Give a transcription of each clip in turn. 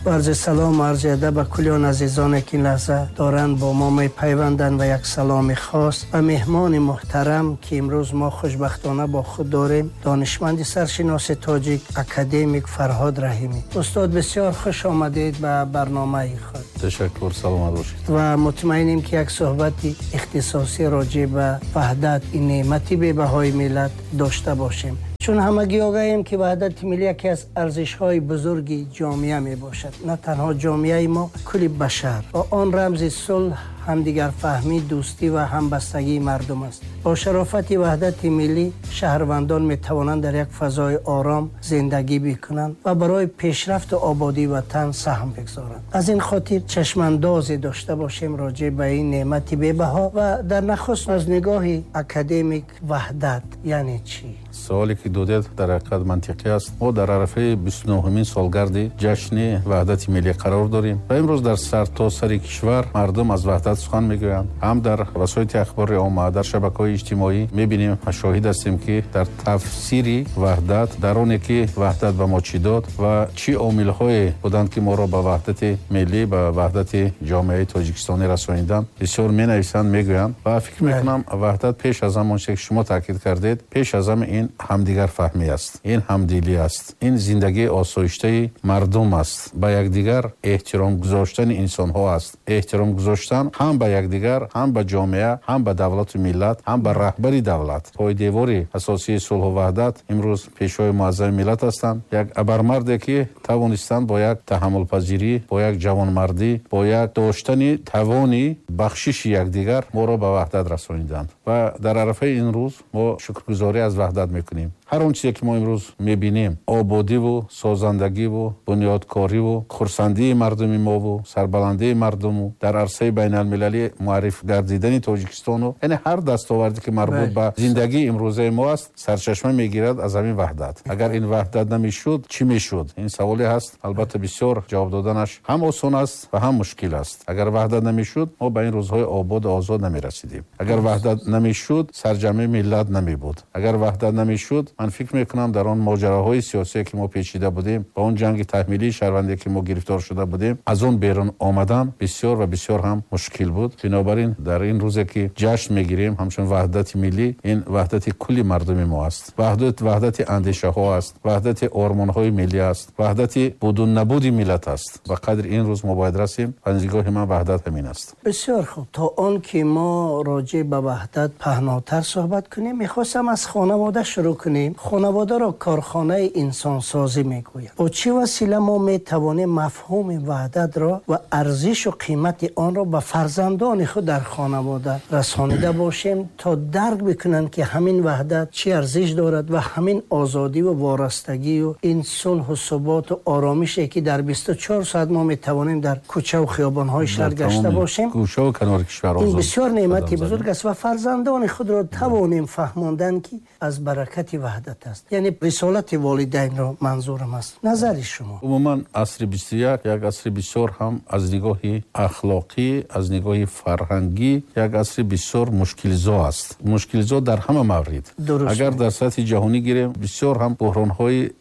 Арзи салом, арзи адаб ба кулли он азизоне ки ин лаҳза доранд бо мо мепайванданд ва як саломи хос ба меҳмони муҳтарам, ки имрӯз мо хушбахтона бо худ дорем, донишманди саршиноси тоҷик, академик Фарҳод Раҳимӣ. Устод, бисёр хуш омадед ба барномаи худ. Ташаккур, саломат бошед. Ва мутмаинем, ки як суҳбати ихтисосӣ роҷеъ ба ваҳдат, ин неъмати бебаҳои миллат, дошта бошем. Чун ҳамагӣ огаҳем, ки ваҳдати миллӣ яке аз арзишҳои бузурги ҷомеа мебошад, на танҳо ҷомеаи мо, кулли башар, ва он рамзи сулҳ, ҳамдигарфаҳмӣ, дӯстӣ ва ҳамбастагии мардум аст. Бо шарофати ваҳдати миллӣ шаҳрвандон метавонанд дар як фазои ором зиндагӣ бикунанд ва барои пешрафту ободии ватан саҳм бигзоранд. Аз ин хотир чашмандозе дошта бошем роҷеъ ба ин неъмати бебаҳо ва дар нахуст аз нигоҳи академик ваҳдат яъне чӣ? Саволе ки додед, дар ҳақиқат мантиқӣ аст. Мо дар арафаи 29-умин солгарди ҷашни ваҳдати миллӣ қарор дорем ва имрӯз дар сартосари кишвар мардум аз ваҳдат сухан мегӯянд. Ҳам дар васоити ахбори омма, дар шабакаҳои иҷтимоӣ мебинем ва шоҳид ҳастем, ки дар тафсири ваҳдат, дар оне ки ваҳдат ба мо чӣ дод ва чӣ омилҳое буданд, ки моро ба ваҳдати миллӣ, ба ваҳдати ҷомеаи тоҷикистонӣ расониданд, бисёр менависанд, мегӯянд. Ва фикр мекунам, ваҳдат пеш аз ҳама, он чизе ки шумо таъкид кардед, пеш аз ҳама ин ҳамдигарфаҳмӣ аст, ин ҳамдилӣ аст, ин зиндагии осоиштаи мардум аст, ба якдигар эҳтиром гузоштани инсонҳо аст, эҳтиром гузоштан ҳам ба якдигар, ҳам ба ҷомеа, ҳам ба давлату миллат, ҳам ба раҳбари давлат. Пойдевори асосии сулҳу ваҳдат имрӯз Пешвои муаззами миллат ҳастанд, як абармарде, ки тавонистанд бо як таҳаммулпазирӣ, бо як ҷавонмардӣ, бо як доштани тавони бахшиши якдигар моро ба ваҳдат расониданд. Ва дар арафаи ин рӯз мо шукргузорӣ аз ваҳдат мекунем. Ҳар он чизе ки мо имрӯз мебинем, ободиву созандагиву бунёдкориву хурсандии мардуми мову сарбаландии мардуму дар арсаи байналмилалӣ муарриф гардидани Тоҷикистону, яъне ҳар дастоварде ки марбут ба зиндагии имрӯзаи мо аст, сарчашма мегирад аз ҳамин ваҳдат. Агар ин ваҳдат намешуд, чӣ мешуд? Ин саволе ҳаст, албатта, бисёр ҷавоб доданаш ҳам осон аст ва ҳам мушкил аст. Агар ваҳдат намешуд, мо ба ин рӯзҳои ободу озод намерасидем. Агар ваҳдат намешуд, сарҷамъи миллат намебуд. Агар ваҳдат намешуд, ман фикр мекунам, дар он моҷароҳои сиёсие ки мо печида будем, ба он ҷанги таҳмилии шаҳрвандие ки мо гирифтор шуда будем, аз он берун омадан бисёр ва бисёр ҳам мушкил буд. Бинобар ин дар ин рӯзе ки ҷашн мегирем ҳамчун ваҳдати миллӣ, ин ваҳдати кулли мардуми мо аст, ваҳдати андешаҳо аст, ваҳдати ормонҳои миллӣ аст, ваҳдати буду набуди миллат аст. Ба қадри ин рӯз мо бояд расем ва нигоҳи ман ваҳдат ҳамин аст. Бисёр хуб. То он ки мо роҷеъ ба ваҳдат паҳнотар суҳбат кунем, мехостам аз хонавода шурӯъ кунем. Хонаводаро корхонаи инсонсозӣ мегӯянд. Бо чӣ васила мо метавонем мафҳуми ваҳдатро ва арзишу қимати онро ба фарзандони худ дар хонавода расонида бошем, то дарк бикунанд, ки ҳамин ваҳдат чӣ арзиш дорад ва ҳамин озодиву ворастагию ин сулҳу суботу оромише, ки дар 24 соат мо метавонем дар кӯчаву хиёбонҳои шаҳр гашта бошем, гӯшаву канори кишвар ин бисёр неъмати бузург аст ва фарзандони худро тавонем фаҳмондан, ки аз баракати ваҳдат аст, яъне рисолати волидайнро манзурам аст. Назари шумо? Умуман, асри 21 як асри бисёр ҳам аз нигоҳи ахлоқӣ, аз нигоҳи фарҳангӣ як асри бисёр мушкилзо аст, мушкилзо дар ҳама маврид. Агар дар сатҳи ҷаҳонӣ гирем, бисёр ҳам буҳронҳои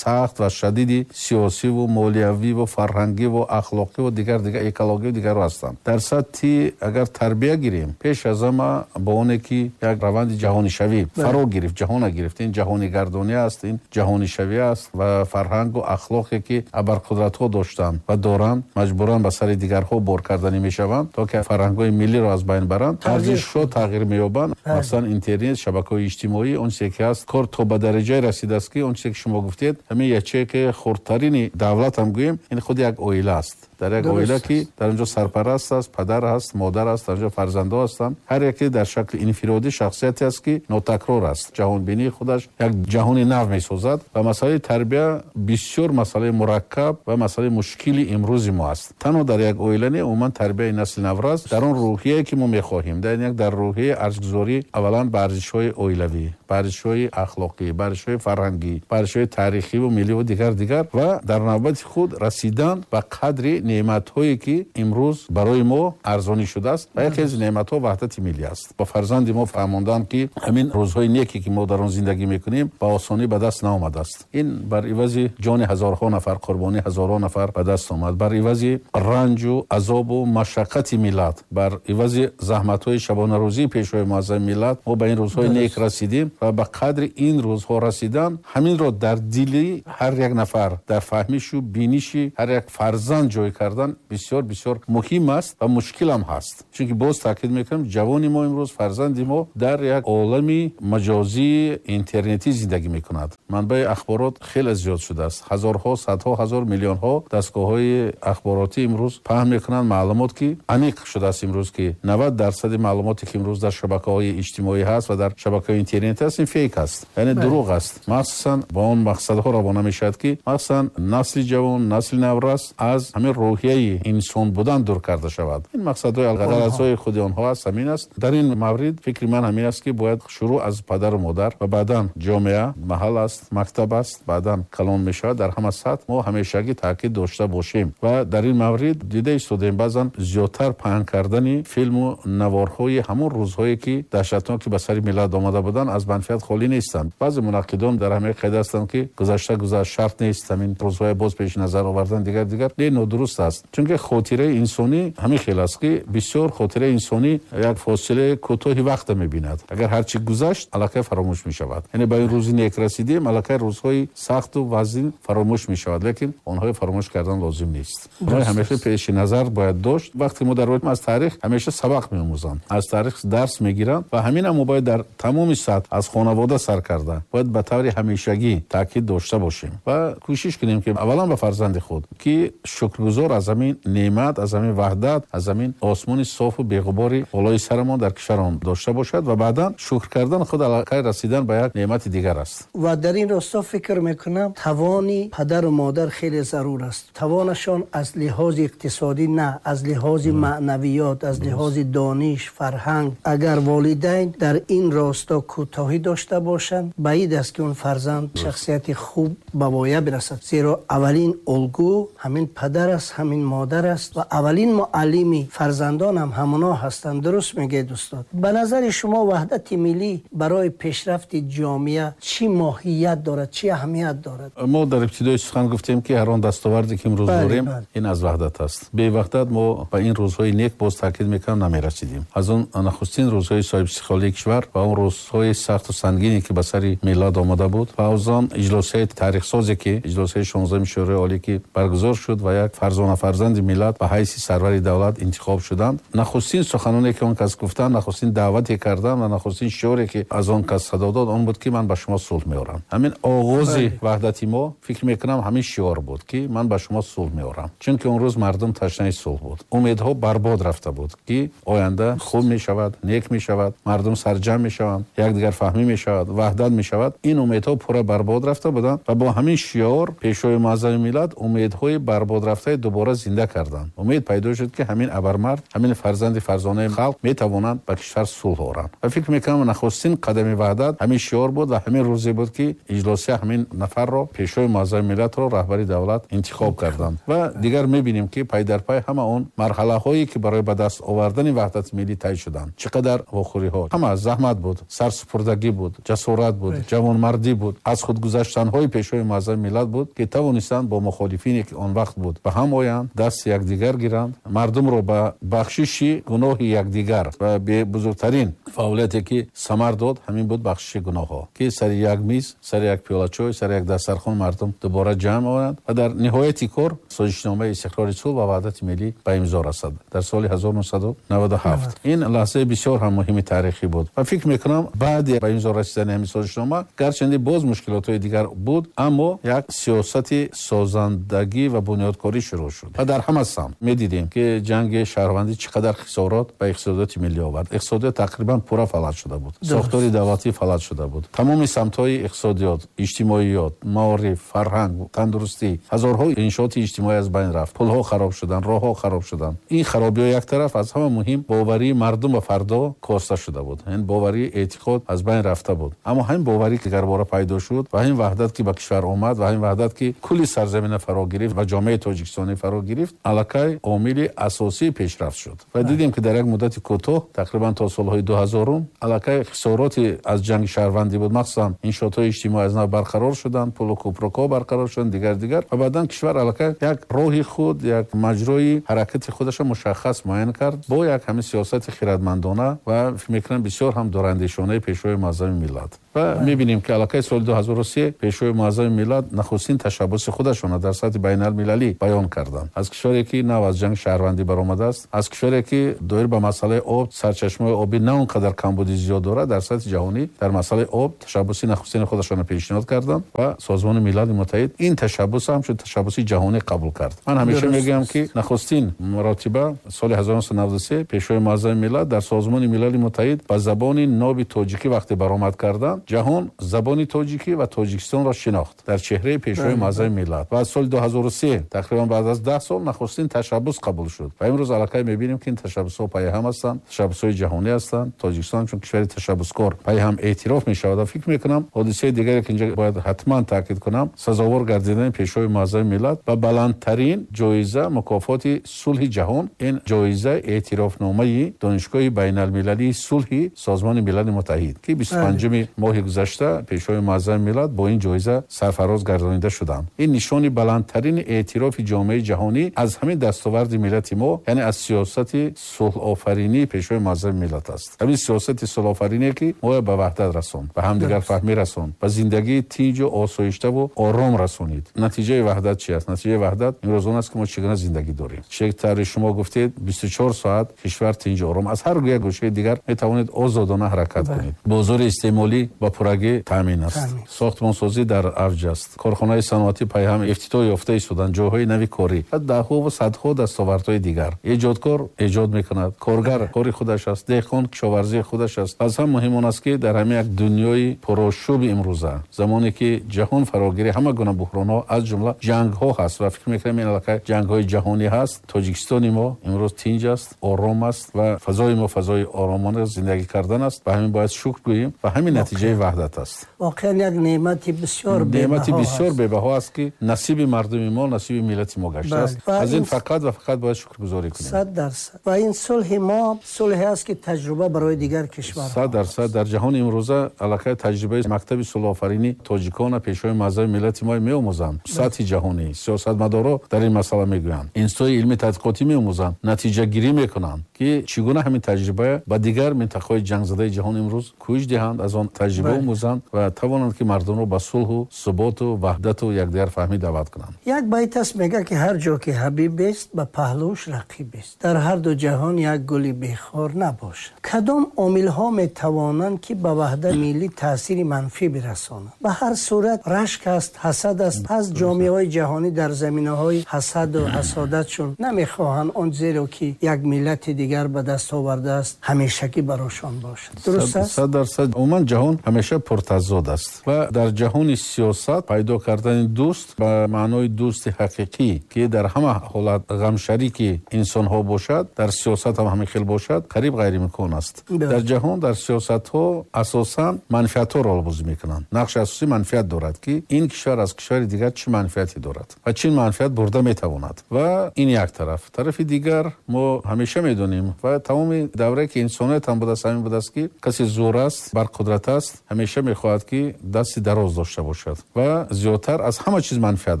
сахт ва шадиди сиёсиву молиявиву фарҳангиву ахлоқиву дигар дигар, экологию дигарро ҳастанд. Дар сатҳи агар тарбия гирем, пеш аз ҳама бо оне ки як раванди ҷаҳонишавӣ фаро гирифт, ҷаҳона гирифт, ин ҷаҳонигардонӣ аст, ин ҷаҳонишавӣ аст ва фарҳангу ахлоқе ки абарқудратҳо доштанд ва доранд, маҷбуран ба сари дигарҳо бор карданӣ мешаванд, то ки фарҳангҳои миллиро аз байн баранд, арзишҳо тағйир меёбанд. Масалан, интернет, шабакаҳои иҷтимоӣ, он чизе ки ҳаст, кор то ба дараҷае расидааст, ки он чизе ки шумо гуфтед, ҳамин ячейкаи хурдтарини давлат ҳам гӯем, ин худ як оила аст. Дар як оила, ки дар он ҷо сарпараст аст, падар ҳаст, модар аст, дар он ҷо фарзандҳо ҳастанд, ҳар яке дар шакли инфиродӣ шахсияте аст, ки нотакрор аст, ҷаҳонбинии худаш як ҷаҳони нав месозад. Ва масъалаи тарбия бисёр масъалаи мураккаб ва масъалаи мушкили имрӯзи мо аст. Танҳо дар як оила не, умуман тарбияи насли наврас дар он рӯҳияе ки мо мехоҳем, дар як дар рӯҳияи арзгузорӣ аввалан ба арзишҳои оилавӣ, ба арзишҳои ахлоқӣ, ба арзишҳои фарҳангӣ, ба арзишҳои таърихиву милливу дигар дигар ва дар навбати худ расидан ба қадри неъматҳое ки имрӯз барои мо арзонӣ шудааст ва яке аз неъматҳо ваҳдати миллӣ аст. Ба фарзанди мо фаҳмонданд, ки ҳамин рӯзҳои неке ки мо дар он зиндагӣ мекунем, ба осонӣ ба даст наомадааст. Ин бар ивази ҷони ҳазорҳо нафар, қурбонии ҳазорҳо нафар ба даст омад, бар ивази ранҷу азобу машаққати миллат, бар ивази заҳматҳои шабонарӯзии пешвои муаззами миллат мо ба ин рӯзҳои нек расидем ва ба қадри ин рӯзҳо расидан ҳаминро дар дили ҳар як нафар, дар фаҳмишу биниши ҳар як фарзанд ҷой кардан бисёр бисёр муҳим аст ва мушкилам ҳаст. Чунки боз таъкид мекунам, ҷавони мо имрӯз, фарзанди мо дар як олами маҷозии интернетӣ зиндагӣ мекунад. Манбаи ахборот хеле зиёд шудааст. Ҳазорҳо, садҳо ҳазор, миллионҳо дастгоҳҳои ахборотӣ имрӯз паҳн мекунанд маълумот, ки аниқ шудааст имрӯз, ки 90% маълумоте ки имрӯз дар шабакаҳои иҷтимоӣ ҳаст ва дар шабакаҳои интернет ҳаст, ин фейк аст, яъне дурӯғ аст. Махсусан ба он мақсадҳо равона мешавад, ки махсусан насли ҷавон, насли наврас аз ҳамин рӯҳияи инсон будан дур карда шавад. Ин мақсадҳои ғаразҳои худи онҳо аст, ҳамин аст. Дар ин маврид фикри ман ҳамин аст, ки бояд шурӯъ аз падару модар ва баъдан ҷомеа, маҳал аст, мактаб аст, баъдан калон мешавад, дар ҳама сатҳ мо ҳамешагӣ таъкид дошта бошем. Ва дар ин маврид дида истодаем баъзан зиёдтар паҳн кардани филму наворҳои ҳамон рӯзҳое ки даҳшатнок ки ба сари миллат омада буданд, аз манфиат холӣ нестанд. Баъзе мунаққидон дар ҳамин қайд ҳастанд, ки гузашта гузашт, шарт нест ҳамин рӯзҳои боз пеш назар овардан, дигар дигар. Не, нодуруст аст, чунки хотираи инсонӣ ҳамин хел аст, ки бисёр хотираи инсонӣ як фосилаи кӯтоҳи вақта мебинад. Агар ҳарчи гузашт, аллакай фаромӯш мешавад. Яъне ба ин рӯзи нек расидем, аллакай рӯзҳои сахту вазнин фаромӯш мешавад, лекин онҳои фаромӯш кардан лозим нест. Онҳои ҳамеша пеши назар бояд дошт. Вақте мо дар аз таърих ҳамеша сабақ меомӯзанд, аз таърих дарс мегиранд ва ҳамин мо бояд дар тамоми сатҳ аз хонавода сар карда бояд ба таври ҳамешагӣ таъкид дошта бошем ва кӯшиш кунем, ки аввалан ба фарзанди худ, ки шукргузор аз ҳамин неъмат, аз ҳамин ваҳдат, аз ҳамин осмони софу беғубори болои сарамон дар кишварон дошта бошад ва баъдан шукр кардан худ аллакай расидан ба як неъмати дигар аст. Ва дар ин росто фикр мекунам, тавони падару модар хеле зарур аст. Тавонашон аз лиҳози иқтисодӣ на, аз лиҳози маънавиёт, аз лиҳози дониш, фарҳанг. Агар волидайн дар ин росто кӯтоҳӣ дошта бошанд, баид аст, ки он фарзанд шахсияти хуб ба воя бирасад. Зеро аввалин олгӯ ҳамин падар аст, ҳамин модар аст ва аввалин муаллими фарзандон ҳам ҳамоно ҳастанд. Дуруст мегӯед, устод. Ба назари шумо ваҳдати миллӣ барои пешрафти ҷомеа чӣ моҳият дорад, чӣ аҳамият дорад? Мо дар ибтидои сухан гуфтем, ки ҳар он дастоварде ки имрӯз дорем, ин аз ваҳдат аст. Бе ваҳдат мо ба ин рӯзҳои нек, боз таъкид мекунам, намерасидем. Аз он нахустин рӯзҳои соҳибистиқлолии кишвар ва он рӯзҳои сахту сангине ки ба сари миллат омада буд ва аз он иҷлосияи таърихсозе ки иҷлосияи 16-уми Шӯрои Олӣ ки баргузор шуд ва як фарзона фарзанди миллат ба ҳайси сарвари давлат интихоб шуданд, нахустин суханоне ки он кас гуфтанд, нахустин даъвате карданд ва нахустин шиоре ки аз он кас садо дод, он буд, ки ман ба шумо сулҳ меорам. Ҳамин оғози ваҳдати мо, фикр мекунам, ҳамин шиор буд, ки ман ба шумо сулҳ меорам. Чунки он рӯз мардум ташнаи сулҳ буд, умедҳо барбод рафта буд, ки оянда хуб мешавад, нек мешавад, мардум сарҷамъ мешаванд, якдигар фаҳмӣ мешавад, ваҳдат мешавад. Ин умедҳо пурра барбод рафта буданд ва бо ҳамин шиор пешвои муаззами миллат умедҳои барбод рафтаи дубора зинда карданд. Умед пайдо шуд, ки ҳамин абармард, ҳамин фарзанди фарзонаи халқ метавонанд ба кишвар сулҳ оранд. Ва фикр мекунам, нахустин қадами ваҳдат ҳамин шиор буд ва ҳамин рӯзе буд, ки иҷлосия ҳамин нафарро, пешвои муаззами миллатро раҳбари давлат интихоб карданд. Ва дигар мебинем, ки пай дар пай ҳама он марҳалаҳое ки барои ба даст овардани ваҳдати миллӣ тай шуданд, чӣ қадар вохӯриҳо, ҳама заҳмат буд, сарсупурдагӣ буд, ҷасорат буд, ҷавонмардӣ буд, аз худгузаштанҳои пешвои муаззами миллат буд, ки тавонистанд бо мухолифине ки он вақт буд ба ҳам оянд, дасти якдигар гиранд, мардумро ба бахшиши гуноҳи якдигар ва бузургтарин фаъолияте ки самар дод, ҳамин буд бахшиши гуноҳҳо, ки сари як миз, сари як пиёла чой, сари як дастархон мардум дубора ҷамъ оянд ва дар ниҳояти кор созишномаи истиқрори сулҳ ва ваҳдати миллӣ ба имзо расад дар соли 1997. Ин лаҳзаи бисёр ҳам муҳими таърихӣ буд ва фикр мекунам, баъди ба имзо расидани ҳамин созишнома гарчанде боз мушкилотҳои дигар буд, аммо як сиёсати созандагӣ ва бунёдкорӣ шурӯъ шуд ва дар ҳама самт медидем, ки ҷанги шаҳрвандӣ чӣ қадар хисорот ба иқтисодиёти миллӣ овард. Иқтисодиёт тақрибан пурра фалаҷ шуда буд, сохтори давлатӣ фалаҷ шуда буд, тамоми самтҳои иқтисодиёт, иҷтимоиёт, маориф, фарҳанг, тандурустӣ, ҳазорҳо иншооти иҷтимоӣ аз байн рафт, пулҳо хароб шуданд, роҳҳо хароб шуданд. Ин харобиҳо як тараф, аз ҳама муҳим боварии мардум ба фардо коста шуда буд, ин боварии эътиқод аз байн рафта буд. Аммо ҳамин боварӣ ки дигарбора пайдо шуд ва ҳамин ваҳдат ки ба кишвар омад ва ҳамин ваҳдат ки кулли сарзамина фаро гирифт ва ҷомеаи тоҷикистониро ҷаҳонӣ фаро гирифт, аллакай омили асосии пешрафт шуд. Ва дидем, ки дар як муддати кӯтоҳ, тақрибан то солҳои 2000, аллакай хисороти аз ҷанги шаҳрвандӣ буд, махсусан иншоотҳои иҷтимоӣ аз нав барқарор шуданд, пулу кӯпрукҳо барқарор шуданд, дигар. Ва баъдан кишвар аллакай як роҳи худ, як маҷрои ҳаракати худашро мушаххас муайян кард бо як ҳамин сиёсати хирадмандона ва фикр мекунам бисёр ҳам дурандешонаи Пешвои муаззами миллат. Ва мебинем, ки аллакай соли 2003 Пешвои муаззами миллат нахустин ташаббуси худашонро дар сатҳи байналмилалӣ баён карданд. Аз кишваре, ки нав аз ҷанги шаҳрвандӣ баромадааст, аз кишваре, ки доир ба масъалаи об, сарчашмаҳои обӣ на он қадар камбуди зиёд дорад, дар сатҳи ҷаҳонӣ дар масъалаи об ташаббуси нахустини худашонро пешниҳод карданд ва Созмони Милали Муттаҳид ин ташаббус ҳамчун ташаббуси ҷаҳонӣ қабул кард. Ман ҳамеша мегӯям, ки нахустин маротиба соли 1993 Пешвои муаззами миллат дар Созмони Милали Муттаҳид ба забони ноби тоҷикӣ вақте баромад карданд, ҷаҳон забони тоҷикӣ ва Тоҷикистонро шинохт дар чеҳраи Пешвои муаззами миллат. Ва аз соли 2003, тақрибан баъд аз 10 сол, нахустин ташаббус қабул шуд. Ва имрӯз аллакай мебинем, ки ин ташаббусҳо пайҳам ҳастанд, ташаббусҳои ҷаҳонӣ ҳастанд. Тоҷикистон чун кишвари ташаббускор пайҳам эътироф мешавад. Ва фикр мекунам, ҳодисаи дигаре, ки инҷа бояд ҳатман таъкид кунам, сазовор гардидани Пешвои муаззами миллат ба баландтарин ҷоиза, мукофоти сулҳи ҷаҳон, ин ҷоиза эътирофномаи Донишгоҳи байналмилалии сулҳи Созмони Милали Муттаҳид, ки 25 моҳи гузашта Пешвои муаззами миллат бо ин ҷоиза сарфароз гардонида шуданд. Ин нишони баландтарин эътирофи ҷомеаи ҷаҳонӣ аз ҳамин дастоварди миллати мо, яъне аз сиёсати сулҳофаринии Пешвои муаззами миллат аст. Ҳамин сиёсати сулҳофариние, ки моро ба ваҳдат расонд, ба ҳамдигарфаҳмӣ расонд, ба зиндагии тинҷу осоиштаву ором расонид. Натиҷаи ваҳдат чи аст? Натиҷаи ваҳдат имрӯз он аст, ки мо чӣ гуна зиндагӣ дорем. Чӣ тавре шумо гуфтед, 24 соат кишвар тинҷу ором, аз ҳар як гӯшаи дигар метавонед озодона ҳаракат кунед. Бозори истеъмолӣ ба пуррагӣ таъмин аст, сохтмонсозӣ дар авҷ аст, корхонаи саноатӣ пайҳам ифтитоҳ ёфта истоданд, ҷойҳои нави корӣ ва даҳҳову садҳо дастовардҳои дигар. Эҷодкор эҷод мекунад, коргар кори худаш аст, деҳқон кишоварзии худаш аст. Аз ҳам муҳим он аст, ки дар ҳамин як дунёи пурошӯби имрӯза, замоне ки ҷаҳон фарогири ҳама гуна буҳронҳо, аз ҷумла ҷангҳо ҳаст, ва фикр мекунам ин аллакай ҷангҳои ҷаҳонӣ ҳаст, Тоҷикистони мо имрӯз тинҷ аст, ором аст ва фазои мо фазои оромона зиндагӣ кардан аст. Ба ҳамин бояд шукр гӯем ва ҳамин натиҷаи ваҳдат аст. Воқеан як неъмати бисёр неъмати бисёр бебаҳо аст, ки насиби мардуми мо, насиби миллати мо гаштааст. Аз ин фақат ва фақат бояд шукргузорӣ кунем. 100%. Ва ин сулҳи мо сулҳе аст, ки таҷриба барои дигар кишварҳо. 100%. Дар ҷаҳони имрӯза аллакай таҷрибаи мактаби сулҳофаринӣ тоҷикона, Пешвои муаззами миллати мо меомӯзанд. Сатҳи ҷаҳонӣ сиёсатмадоро дар ин масъала мегӯянд, институтҳои илми тадқиқотӣ меомӯзанд, натиҷагирӣ мекунанд, ки чӣ гуна ҳамин таҷриба ба дигар минтақаҳои ҷангзадаи ҷаҳон имрӯз кӯч диҳанд, аз он таҷриба омӯзанд ва тавонанд, ки мардумро ба сулҳу суботу ваҳдату якдигарфаҳмӣ даъват кунанд. Як байт аст, мега, ки ҳар ҷо ки ҳабиб аст, ба паҳлӯш рақиб аст, дар ҳар ду ҷаҳон як гули бехор набошад. Кадом омилҳо метавонанд, ки ба ваҳдати миллӣ таъсири манфӣ бирасонанд? Ба ҳар сурат рашк аст, ҳасад аст. Аз ҷомеаҳои ҷаҳонӣ дар заминаҳои ҳасаду ҳасодатшон намехоҳанд он зеро ки як миллати дигар ба даст овардааст, ҳамешагӣ барошон бошад. Дуруст аст? 100%. Умуман ҷаҳон ҳамеша пуртазод аст ва дар ҷаҳони сиёсат пайдо кардани дӯст ба маънои дӯсти ҳақиқӣ, ки дар ҳама ҳолат ғамшарики инсонҳо бошад, дар сиёсат ҳам ҳамин хел бошад, қариб ғайриимкон аст. Дар ҷаҳон дар сиёсатҳо асосан манфиатҳо ролбозӣ мекунанд. Нақши асосӣ манфиат дорад, ки ин кишвар аз кишвари дигар чӣ манфиате дорад ва чӣ манфиат бурда метавонад. Ва ин як тараф. Тарафи дигар, мо ҳамеша медонем ва тамоми даврае ки инсоният ҳам будааст, ҳамин будааст, ки касе зӯр аст, барқудрат аст, ҳамеша мехоҳад, ки дасти дароз дошта бошад ва зиёдтар аз ҳама чиз манфиат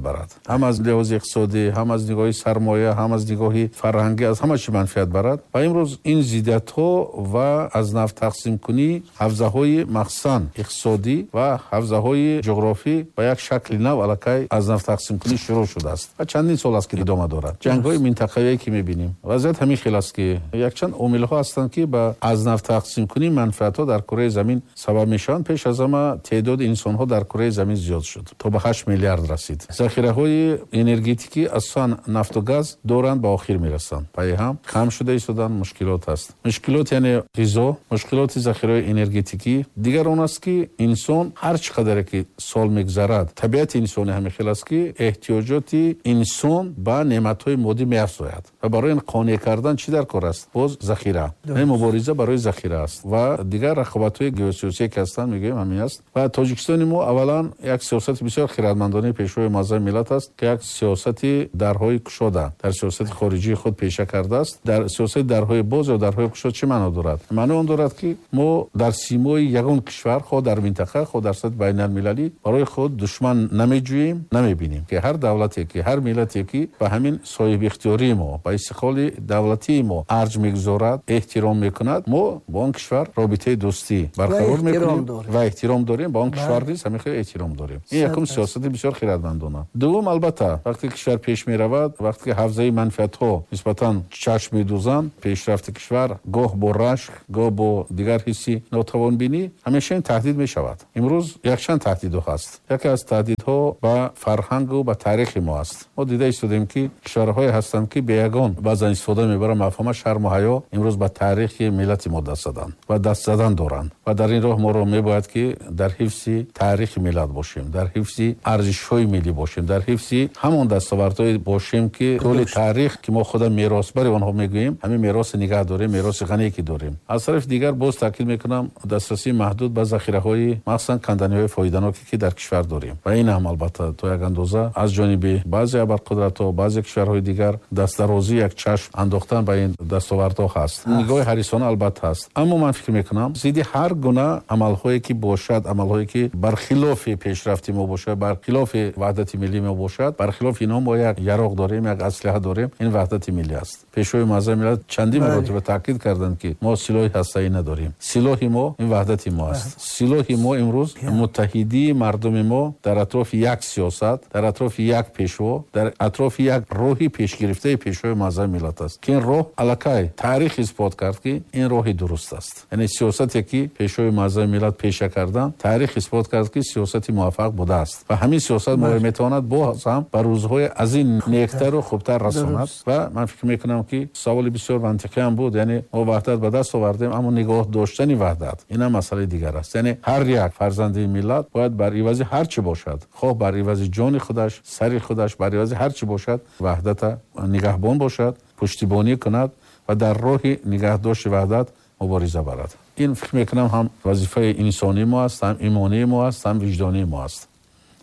барад, ҳам аз лиҳози иқтисодӣ, ҳам аз нигоҳи сармоя, ҳам аз нигоҳи фарҳангӣ, аз ҳама чиз манфиат барад. Ва имрӯз ин зиддиятҳо ва аз нав тақсимкунии ҳавзаҳои махсусан иқтисодӣ ва ҳавзаҳои ҷуғрофӣ ба як шакли нав аллакай аз нав тақсимкунӣ шурӯъ шудааст ва чандин сол аст, ки идома дорад. Ҷангҳои минтақавие, ки мебинем, вазъият ҳамин хел аст, ки якчанд омилҳо ҳастанд, ки ба аз нав тақсимкунии манфиатҳо дар кураи замин сабаб мешаванд. Пеш аз ҳама теъдоди инсонҳо дар кураи замин зиёд шуд, то ба 8 миллиард расид. Захираҳои энергетикӣ, асосан нафту газ, доранд ба охир мерасанд, пайҳам кам шуда истоданд. Мушкилот аст, мушкилот яъне ғизо, мушкилоти захираҳои энергетикӣ. Дигар он аст, ки инсон ҳар чӣ қадаре ки сол мегузарад, табиати инсонӣ ҳамин хел аст, ки эҳтиёҷоти инсон ба неъматҳои моддӣ меафзояд ва барои ин қонеъ кардан чӣ дар кор аст? Боз захира, мубориза барои захира аст ва дигар рақобатҳои геосиёсие ки ҳастанд. ҳастанд, мегӯем ҳамин аст. Ва Тоҷикистони мо аввалан як сиёсати бисёр хирадмандонаи Пешвои муаззами миллат аст, ки як сиёсати дарҳои кушода дар сиёсати хориҷии худ пеша кардааст. Дар сиёсати дарҳои боз ё дарҳои кушод чӣ маъно дорад? Маънои он дорад, ки мо дар симои ягон кишвар, хоҳ дар минтақа, хоҳ дар сатҳи байналмилалӣ, барои худ душман намеҷӯем, намебинем, ки ҳар давлате ки, ҳар миллате ки ба ҳамин соҳибихтиёрии мо, ба истиқлоли давлатии мо арҷ мегузорад, эҳтиром мекунад, мо бо он кишвар робитаи дӯстӣ барқарор мекунем ва эҳтиром дорем, ба он кишвар низ ҳамин хел эҳтиром дорем. Ин якум сиёсати бисёр хирадмандона. Дуввум, албатта, вақте кишвар пеш меравад, вақте ки ҳавзаи манфиатҳо нисбатан чашм медӯзанд, пешрафти кишвар гоҳ бо рашк, гоҳ бо дигар ҳисси нотавонбинӣ, ҳамеша ин таҳдид мешавад. Имрӯз якчанд таҳдидҳо ҳаст. Яке аз таҳдидҳо ба фарҳангу ба таърихи мо аст. Мо дида истодем, ки кишварҳое ҳастанд, ки беягон баъзан истифода мебаранд мафҳума шарму ҳаё, имрӯз ба таърихи миллати мо даст заданд ва даст задан доранд. Ва дар ин роҳ моро мебояд, ки дар ҳифзи таърихи миллат бошем, дар ҳифзи арзишҳои миллӣ бошем, дар ҳифзи ҳамон дастовардҳое бошем, ки тӯли таърих, ки мо худа меросбари онҳо мегӯем, ҳамин мероси нигаҳ дорем, мероси ғание ки дорем. Аз тарафи дигар боз таъкид мекунам, дастрасии маҳдуд ба захираҳои, махсусан канданиҳои фоиданоке, ки дар кишвар дорем. Ва ин ҳам албатта то як андоза аз ҷониби баъзе абарқудратҳо, баъзе кишварҳои дигар дастдарозӣ, як чашм андохтан ба ин дастовардҳо ҳаст. Нигоҳи ҳарисона албатта ҳаст. Аммо ман фикр мекунам, зидди ҳар гуна амалҳое ки бошад, амалҳое ки бархилофи пешрафти мо бошад, бархилофи ваҳдати миллии мо бошад, бархилофи инҳо мо як яроқ дорем, як аслиҳа дорем, ин ваҳдати миллӣ аст. Пешвои муаззами миллат чандин маротиба таъкид карданд, ки мо силоҳи ҳастаӣ надорем. Силоҳи мо ин ваҳдати мо аст. Силоҳи мо имрӯз муттаҳидии мардуми мо дар атрофи як сиёсат, дар атрофи як пешво, дар атрофи як роҳи пешгирифтаи Пешвои муаззами миллат аст, ки ин роҳ аллакай таърих исбот кард, ки ин роҳи дуруст аст. Яъне сиёсате ки Пешвои муаззами миллат пеша карданд, таърих исбот кард, ки сиёсати муваффақ будааст. Ва ҳамин сиёсат моро метавонад боз ҳам ба рӯзҳои аз ин нектару хубтар расонад. Ва ман фикр мекунам, ки саволи бисёр мантиқӣ ҳам буд. Яъне мо ваҳдат ба даст овардем, аммо нигоҳ доштани ваҳдат ин ҳам масъалаи дигар аст. Яъне ҳар як фарзанди миллат бояд бар ивази ҳар чӣ бошад, хоҳ бар ивази ҷони худаш, сари худаш, бар ивази ҳар чӣ бошад, ваҳдата нигаҳбон бошад, пуштибонӣ кунад ва дар роҳи нигаҳдошти ваҳдат мубориза барад. Ин фикр мекунам ҳам вазифаи инсонии мо аст, ҳам имонии мо аст, ҳам виҷдонии мо аст.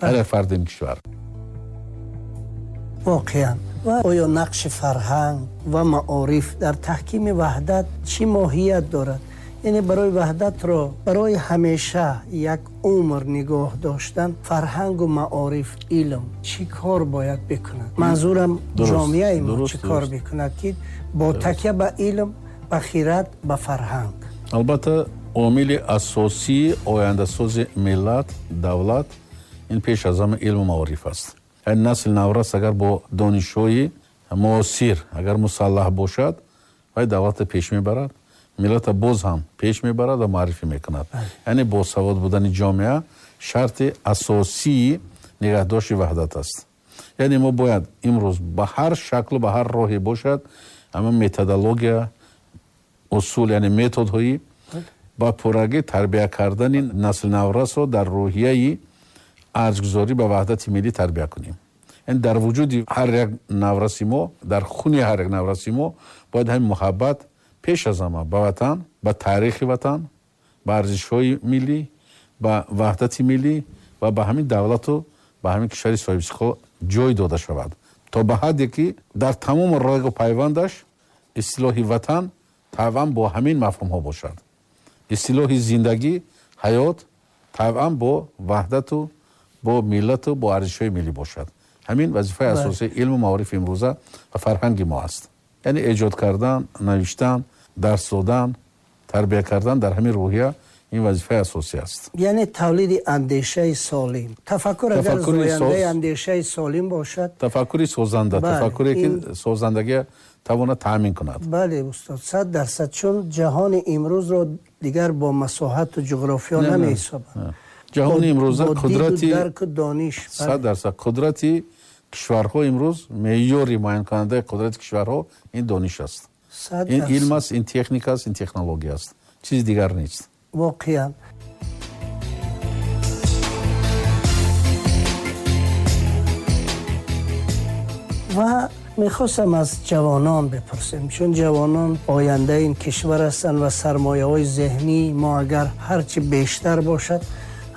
Ҳар як фарди ин кишвар. Воқеан. Ва оё нақши фарҳанг ва маориф дар таҳкими ваҳдат чӣ моҳият дорад? Яъне барои ваҳдатро барои ҳамеша як умр нигоҳ доштан, фарҳангу маориф, илм чӣ кор бояд бикунад? Манзурам ҷомеаи мо чӣ кор бикунад, ки бо такя ба илм, ба хирад, ба фарҳанг? Албатта, омили асосии ояндасози миллат, давлат ин пеш аз ҳама илму маориф аст. Яъне насли наврас агар бо донишҳои муосир агар мусаллаҳ бошад, вай давлатро пеш мебарад, миллатро боз ҳам пеш мебарад ва муаррифӣ мекунад. Яъне босавод будани ҷомеа шарти асосии нигаҳдошти ваҳдат аст. Яъне мо бояд имрӯз ба ҳар шаклу ба ҳар роҳе бошад, ҳама методология, усул, яъне методҳои ба пуррагӣ тарбия кардани насли наврасро дар рӯҳияи арҷгузорӣ ба ваҳдати миллӣ тарбия кунем. Яъне дар вуҷуди ҳар як навраси мо, дар хуни ҳар як навраси мо бояд ҳамин муҳаббат пеш аз ҳама ба ватан, ба таърихи ватан, ба арзишҳои миллӣ, ба ваҳдати миллӣ ва ба ҳамин давлату ба ҳамин кишвари соҳибистиқлол ҷой дода шавад, то ба ҳадде ки дар тамоми рагу пайвандаш истилоҳи ватан табъан бо ҳамин мафҳумҳо бошад, истилоҳи зиндагӣ, ҳаёт табъан бо ваҳдату бо миллату бо арзишҳои миллӣ бошад. Ҳамин вазифаи асосии илму маорифи имрӯза ва фарҳанги мо аст. Яъне эҷод кардан, навиштан, дарс додан, тарбия кардан дар ҳамин рӯҳия ин вазифаи асосӣ аст. Яъне тавлиди андешаи солим, тафаккур агар зояндаи андешаи солим бошад, тафаккури созанда, тафаккуре ки созандагия тавонад таъмин кунад. Бале устод, 100%, чун ҷаҳони имрӯзро дигар бо масоҳату ҷуғрофиё намеҳисобанд. Ҷаҳони имрӯза қудрати дарку дониш, 100% қудрати кишварҳо имрӯз, меъёри муайянкунандаи қудрати кишварҳо ин дониш аст, ин илм аст, ин техника аст, ин технология аст, чизи дигар нест. Воқеан. Ва Мехостам аз ҷавонон бипурсем, чун ҷавонон ояндаи ин кишвар ҳастанд ва сармояҳои зеҳнии мо агар ҳарчи бештар бошад,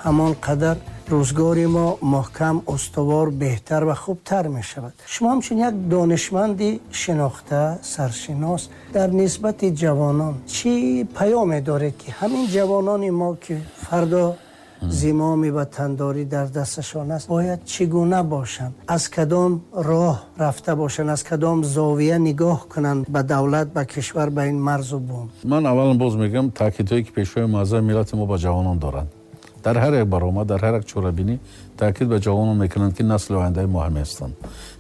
ҳамон қадар рӯзгори мо маҳкам, устувор, беҳтар ва хубтар мешавад. Шумо ҳамчун як донишманди шинохта, саршинос, дар нисбати ҷавонон чӣ паёме доред, ки ҳамин ҷавонони мо, ки фардо зимоми ватандорӣ дар дасташон аст, бояд чӣ гуна бошанд, аз кадом роҳ рафта бошанд, аз кадом зовия нигоҳ кунанд ба давлат, ба кишвар, ба ин марзу бум? Ман аввалан боз мегӯям, таъкидҳое ки пешвои муаззами миллати мо ба ҷавонон доранд, дар ҳар як баромад, дар ҳар як чорабинӣ таъкид ба ҷавонон мекунанд, ки насли ояндаи мо ҳаме ҳастанд.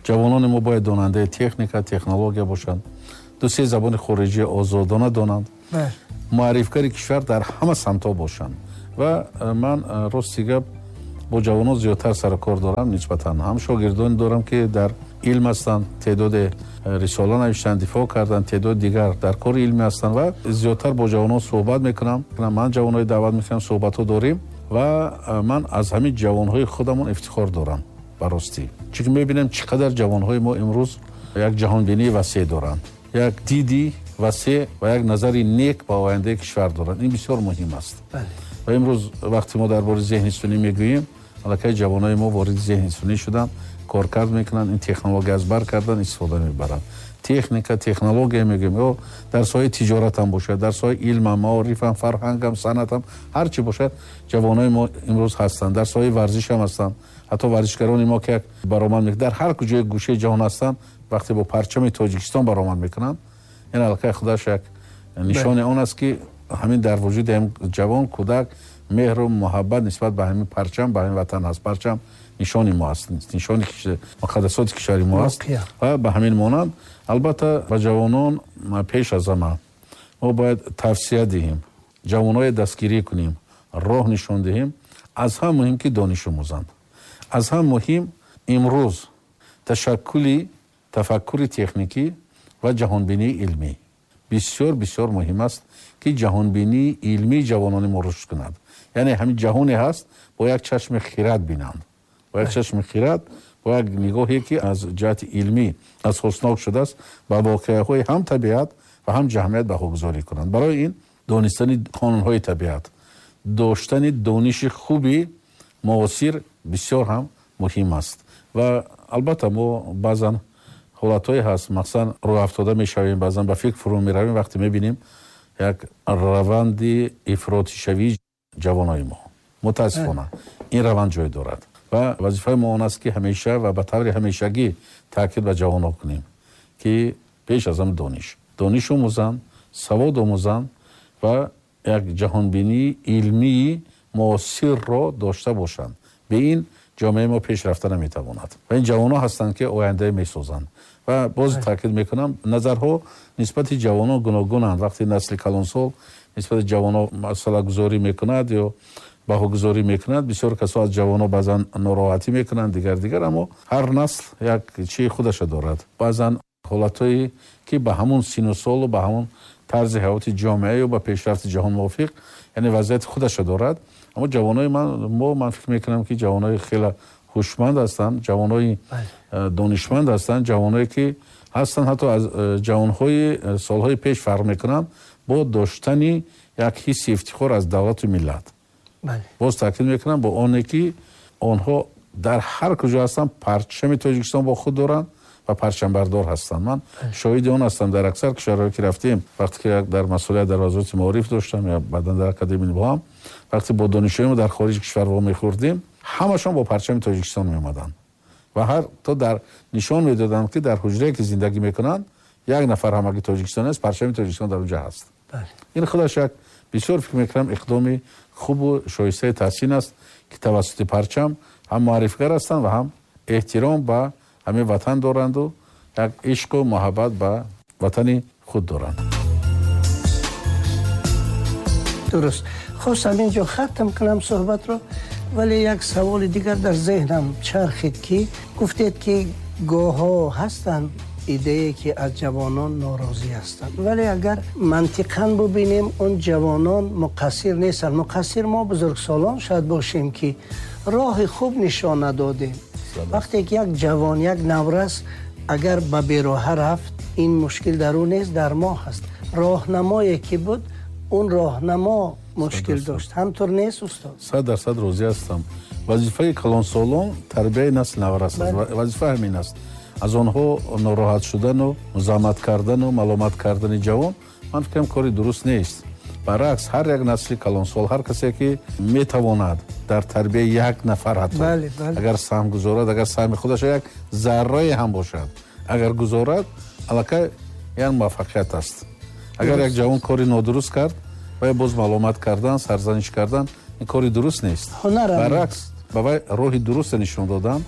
Ҷавонони мо бояд донандаи техника, технология бошанд, ду-се забони хориҷӣ озодона донанд, муаррифгари кишвар дар ҳама самтҳо бошанд. Ва ман рости гап бо ҷавонон зиёдтар сарукор дорам, нисбатан ҳам шогирдоне дорам, ки дар илм ҳастанд, теъдоде рисола навиштанд, дифоъ карданд, теъдоди дигар дар кори илмӣ ҳастанд ва зиёдтар бо ҷавонон суҳбат мекунам. Ман ҷавонҳои даъват мекунам, суҳбатҳо дорем ва ман аз ҳамин ҷавонҳои худамон ифтихор дорам ба ростӣ, чунки мебинем чӣ қадар ҷавонҳои мо имрӯз як ҷаҳонбинии васеъ доранд, як диди васеъ ва як назари нек ба ояндаи кишвар доранд. Ин бисёр муҳим аст. Ва имрӯз вақте мо дар бораи зеҳни сунъӣ мегӯем, аллакай ҷавонони мо вориди зеҳни сунъӣ шуданд, коркард мекунанд, ин технология аз бар кардан истифода мебаранд. Техника, технология мегӯем, ё дар соҳаи тиҷорат ҳам бошад, дар соҳаи илмам, маорифам, фарҳангам, санъатам, ҳар чӣ бошад, ҷавонони мо имрӯз ҳастанд, дар соҳаи варзиш ҳам ҳастанд. Ҳатто варзишгарони мо, ки як баромад мекунанд, дар ҳар куҷои гӯшаи ҷаҳон ҳастанд, вақте бо парчами Тоҷикистон баромад мекунанд, ин аллакай худаш як нишони он аст, ки ҳамин дар вуҷуди ҳам ҷавон, кӯдак меҳру муҳаббат нисбат ба ҳамин парчам, ба ҳамин ватан ҳаст. Парчам нишони мо аст, нишони муқаддасоти кишвари мо аст ва ба ҳамин монанд. Албатта ба ҷавонон пеш аз ҳама мо бояд тавсия диҳем, ҷавонҳоя дастгирӣ кунем, роҳ нишон диҳем. Аз ҳам муҳим ки дониш омӯзанд, аз ҳам муҳим имрӯз ташаккули тафаккури техникӣ ва ҷаҳонбинии илмӣ бисёр бисёр муҳим аст, ки ҷаҳонбинии илмии ҷавонони мо рушд кунад. Яъне ҳамин ҷаҳоне ҳаст, бо як чашми хирад бинанд, бо як чашми хирад, бо як нигоҳе ки аз ҷиҳати илмӣ асоснок шудааст, ба воқеаҳои ҳам табиат ва ҳам ҷамъият баҳогузорӣ кунанд. Барои ин донистани қонунҳои табиат, доштани дониши хуби муосир бисёр ҳам муҳим аст. Ва албатта мо баъзан ҳолатҳое ҳаст, махсусан рӯҳафтода мешавем, баъзан ба фикр фурӯ меравем, вақте мебинем як раванди ифротишавии ҷавонои мо. Мутаассифона ин раванд ҷой дорад ва вазифаи мо он аст, ки ҳамеша ва ба таври ҳамешагӣ таъкид ба ҷавонҳо кунем, ки пеш аз ҳама дониш омӯзанд, савод омӯзанд ва як ҷаҳонбинии илмии муосирро дошта бошанд. Бе ин ҷомеаи мо пеш рафта наметавонад ва ин ҷавонҳо ҳастанд, ки ояндае месозанд. Ва боз таъкид мекунам, назарҳо нисбати ҷавонон гуногунанд. Вақте насли калонсол нисбати ҷавонон масъалагузорӣ мекунад ё баҳогузорӣ мекунад, бисёр касо аз ҷавонон баъзан нороҳатӣ мекунанд, дигар, аммо ҳар насл як чии худаша дорад. Баъзан ҳолатҳое ки ба ҳамун сину солу ба ҳамун тарзи ҳаёти ҷомеаю ба пешрафти ҷаҳон мувофиқ, яъне вазъияти худаша дорад. Аммо ҷавонои мо, ман фикр мекунам, ки ҷавонои хеле ҳушманд ҳастанд, ҷавонои донишманд ҳастанд, ҷавоное ки ҳастанд ҳатто аз ҷавонҳои солҳои пеш фарқ мекунанд бо доштани як ҳисси ифтихор аз давлату миллат. Боз таъкид мекунам, бо оне ки онҳо дар ҳар куҷо ҳастанд, парчами Тоҷикистон бо худ доранд ва парчамбардор ҳастанд. Ман шоҳиди он ҳастам, дар аксар кишварҳое ки рафтем, вақте ки дар масъулият дар вазорати маориф доштам ё баъдан дар академияи илмҳо ҳам, вақте бо донишҷӯёни мо дар хориҷи кишвар вомехӯрдем, ҳамашон бо парчами Тоҷикистон меомаданд ва ҳар то дар нишон медоданд, ки дар ҳуҷрае ки зиндагӣ мекунанд, як нафар ҳамагӣ тоҷикистон аст, парчами Тоҷикистон дар онҷа ҳаст. Ин худаш як бисёр фикр мекунам иқдоми хубу шоистаи таҳсин аст, ки тавассути парчам ҳам муаррифгар ҳастанд ва ҳам эҳтиром ба ҳамин ватан доранду як ишқу муҳаббат ба ватани худ доранд. Дуруст. Хостам инҷо хатм кунам суҳбатро, вале як саволи дигар дар зеҳнам чархид, ки гуфтед, ки гоҳҳо ҳастанд идее ки аз ҷавонон норозӣ ҳастанд, вале агар мантиқан бубинем, он ҷавонон муқассир нестанд. Муқассир мо бузургсолон шояд бошем, ки роҳи хуб нишон надодем. Вақте ки як ҷавон, як наврас Агар ба бероҳа рафт, ин мушкил дар ӯ нест, дар мо ҳаст. Роҳнамое ки буд, он роҳнамо мушкил дошт. Ҳамтур нест, устод? 100% розӣ ҳастам. Вазифаи калонсолон тарбияи насли наврас аст. Вазифа ҳамин аст. Аз онҳо нороҳат шудану музаммат кардану маломат кардани ҷавон, ман фикрам, кори дуруст нест. Баръакс, ҳар як насли калонсол, ҳар касе ки метавонад дар тарбияи як нафар ҳатто агар саҳм гузорад, агар саҳми худаш як заррае ҳам бошад, агар гузорад, аллакай як муваффақият аст. Агар як ҷавон кори нодуруст кард ва боз маломат кардан, сарзаниш кардан, ин кори дуруст нест. Баръакс, ба вай роҳи дурусте нишон додан,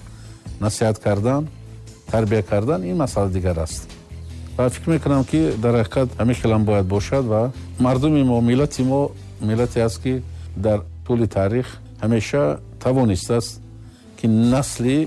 насиҳат кардан, тарбия кардан, ин масъала дигар аст. Ва фикр мекунам, ки дар ҳақиқат ҳамин хелам бояд бошад. Ва мардуми мо, миллати мо миллате аст, ки дар тӯли таърих ҳамеша тавонистааст, ки насли